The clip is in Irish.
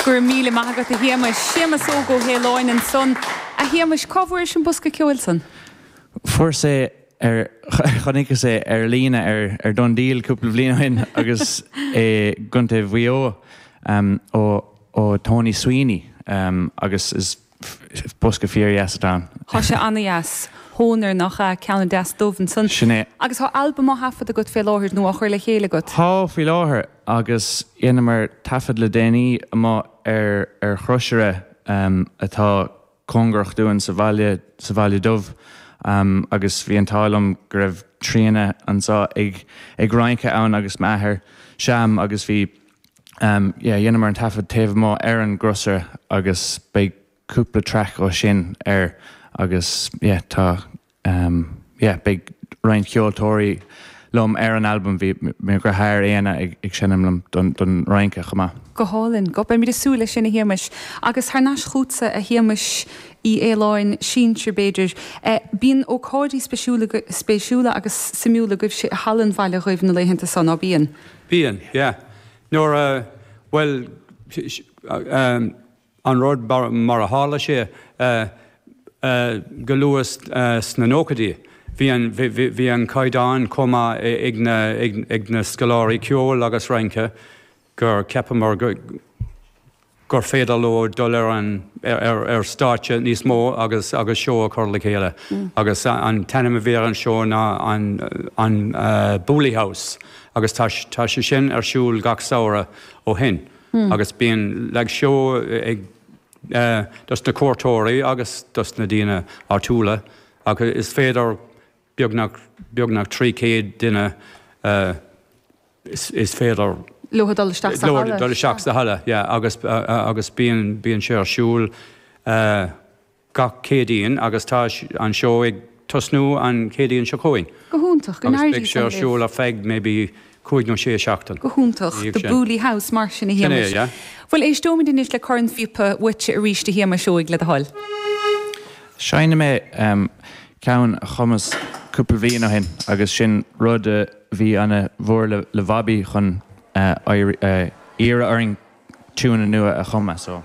Go raibh míle maith agat a Shéamais. Séamas Óg Ó hAoláin ansan. A Shéamais, cá bhfuairis an bosca ceoil san? Fuaireas é ar, chonaiceas é ar líne ar ar DoneDeal cúpla bliain ó shin agus i gContae Mhaigh Eo ó ó Tony Sweeney agus is bosca fíor-dheas atá ann. Tá sé ana-dheas. Hohner nach ea? Ceann deas dubh ansan. Sin é. Agus tá albam á thaifead agat fé láthair nó á chur le chéile agat? Tá, faoi láthair. Agus dheineamar taifead le déanaí amuigh ar ar chrosaire atá cóngarach dúinn sa bhaile, sa Bhaile Dubh. Agus bhí an t-ádh liom go raibh Tríona anseo ag ag rince ann agus m'athair Sam agus bhí yeah, dheineamar an taifead taobh amuigh ar an gcrosaire agus beidh cúpla traic ó sin air agus yeah, tá yeah, beidh roinnt ceoltóirí liom ar an albam, bhí mo dheartháir Éanna ag ag seinm liom don don rince chomh maith. Go hálainn. Go, beimid ag súil leis sin a Shéamais. Agus thar n-ais chugatsa a Shéamais Uí Fhaoláin, sinsir b'fhéidir. Bíonn ócáidí spéisiúla spéisiúla agus suimiúla agaibhse i Halla an Bhaile Dhuibh na laethanta so, ná bíonn? Bíonn, yeah. Nuair a, bhuel, an rud mar a tharla sé go luath sna nóchaidí, bhí an, bhí an caighdeán chomh maith ag na, ag na scoláirí ceoil agus rince gur cheapamar go, gur féidir leo dul ar an ar stáitse níos mó agus agus seó a chur le chéile. Agus an t-ainm a bhí ar an seó ná an an Booley House agus tá tá sé sin ar siúl gach samhradh ó shin. Agus bíonn like seó ag dos na cuairteoirí agus dos na daoine áitiúla ach is féidir beagnach beagnach 300 duine is féidir leo dul isteach sa halla. Dul isteach sa halla, yeah, agus agus bíonn bíonn sé ar siúl gach Céadaoin agus tá an seó ag tosnú an Chéadaoin seo chugainn. Go hiontach, go n-éirí Agus beidh sé ar siúl ar feadh maybe cúig nó sé seachtain. Go hiontach, The Booley House mar sin a Shéamais. Sin é, yeah. Bhuel éisteoimid anois le cornphíopa uaitse arís a Shéamais Óig, le do thoil. Seinnfidh mé ceann a chumas cúpla bliain ó shin agus sin rud a bhí ana mhór le Bhobby chun iarraidh orainn tiúin nua a chumadh so.